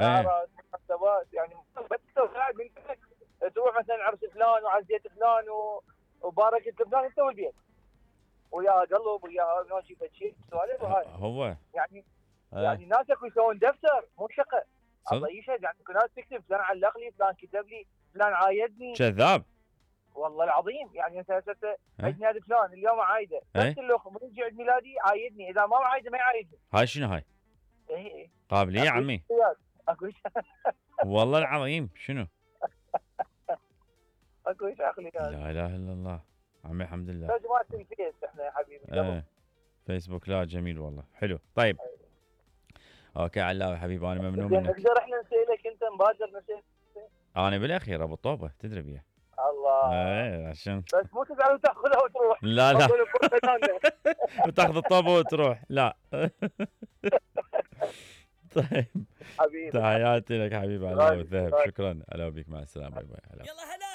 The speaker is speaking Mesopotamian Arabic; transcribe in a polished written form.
زيارات مناسبات، يعني بس قاعد من بيتك تروح مثلا عرس فلان وعزيت فلان وباركت فلان انت والبيت ويا قلب ويا ماشي بتشيل سوالف وهاي هو يعني ناس اكو يسوون دفتر مو شقه. صدق الله يشهد يعني اكو ناس تكتب فلان علق لي، فلان كتب لي، فلان عايدني. كذاب والله العظيم يعني انت هسه عيد ميلاد فلان اليوم عايده، بس الاخ من يجي عيد ميلادي عايدني، اذا ما عايده ما يعايدني. هاي شنو هاي؟ اي قابليه يا عمي اكو والله العظيم شنو؟ اكو شغلي لا اله الا الله عمي الحمد لله. بس ما الفيس احنا يا حبيبي فيسبوك لا جميل والله حلو. طيب اوكي علاوي حبيبي انا ممنون منك. نقدر احنا نسالك انت مبادر نسال؟ انا بالاخير ابو طوبه تدري بيه. الله عشان بس مو تزعل وتاخذها وتروح. لا وتاخذ الطوبه وتروح لا. طيب حبيبي تحياتي لك حبيبي علاوي الذهب، شكرا. هلا بك مع السلامه. باي باي. يلا هلا